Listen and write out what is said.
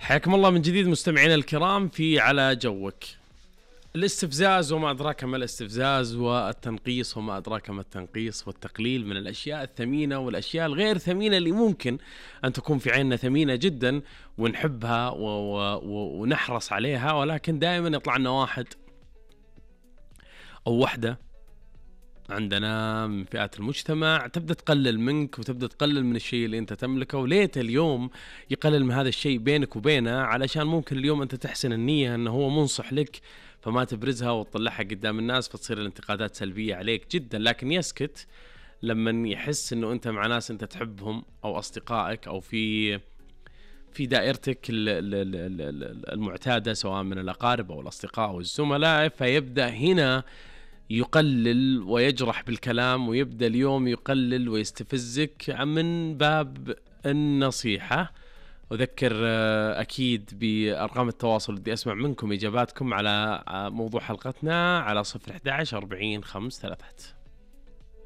حياكم الله من جديد مستمعينا الكرام في على جوك. الاستفزاز وما أدراك ما الاستفزاز، والتنقيص وما أدراك ما التنقيص، والتقليل من الأشياء الثمينة والأشياء الغير ثمينة اللي ممكن أن تكون في عيننا ثمينة جدا ونحبها ونحرص عليها، ولكن دائما يطلع لنا واحد أو وحدة عندنا من فئات المجتمع تبدأ تقلل منك وتبدأ تقلل من الشيء اللي انت تملكه، وليت اليوم يقلل من هذا الشيء بينك وبينه، علشان ممكن اليوم انت تحسن النية انه هو منصح لك فما تبرزها وتطلعها قدام الناس فتصير الانتقادات سلبية عليك جدا، لكن يسكت لما يحس انه انت مع ناس انت تحبهم او اصدقائك او في دائرتك المعتادة سواء من الأقارب أو الأصدقاء أو الزملاء، فيبدأ هنا يقلل ويجرح بالكلام، ويبدأ اليوم يقلل ويستفزك من باب النصيحة. أذكر أكيد بأرقام التواصل اللي أسمع منكم إجاباتكم على موضوع حلقتنا على 011 40 5 3.